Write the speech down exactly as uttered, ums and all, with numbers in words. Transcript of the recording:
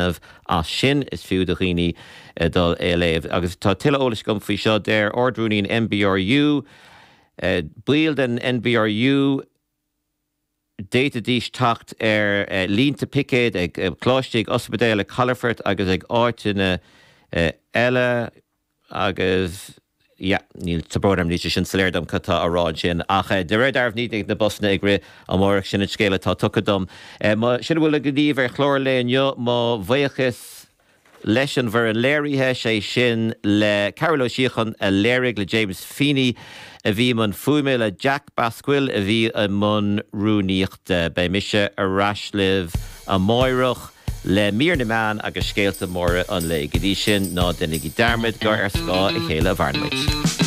as sin is fiú do dhaoine eh, dul é léamh. Agus tá tuilleadh eolais agam faoi seo deir Ardrúnaí N B R U, eh, baill den N B R U d'fhéadfaidís teacht ar eh, línte picéid ag eh, coláistí, ag ospidéil, ag calafoirt agus ag áiteanna eh, eile agus ja, níl tábróm ní sin soiléir dom cad tá á rá sin ach eh, de réir dealraimh ní na busanna ag rith amárach, sin an scéal atá tugtha dom. Eh, sin a bhfuil againn daoibh ar chlár lae inniu. Mo bhuíochas leis an bhfoireann léirithe, sé sin le Carol Ó Síochan a léirigh, le James Feeney a bhí i mbun fuaime, le Jack Basquill a bhí i mbun rúnaíochta. Beidh mise ar ais libh amárach le mír na meán agus scéalta móra an lae. Go dtí sin, ná déanaigí dearmad gur ar scáth a chéile a mhaireann muid.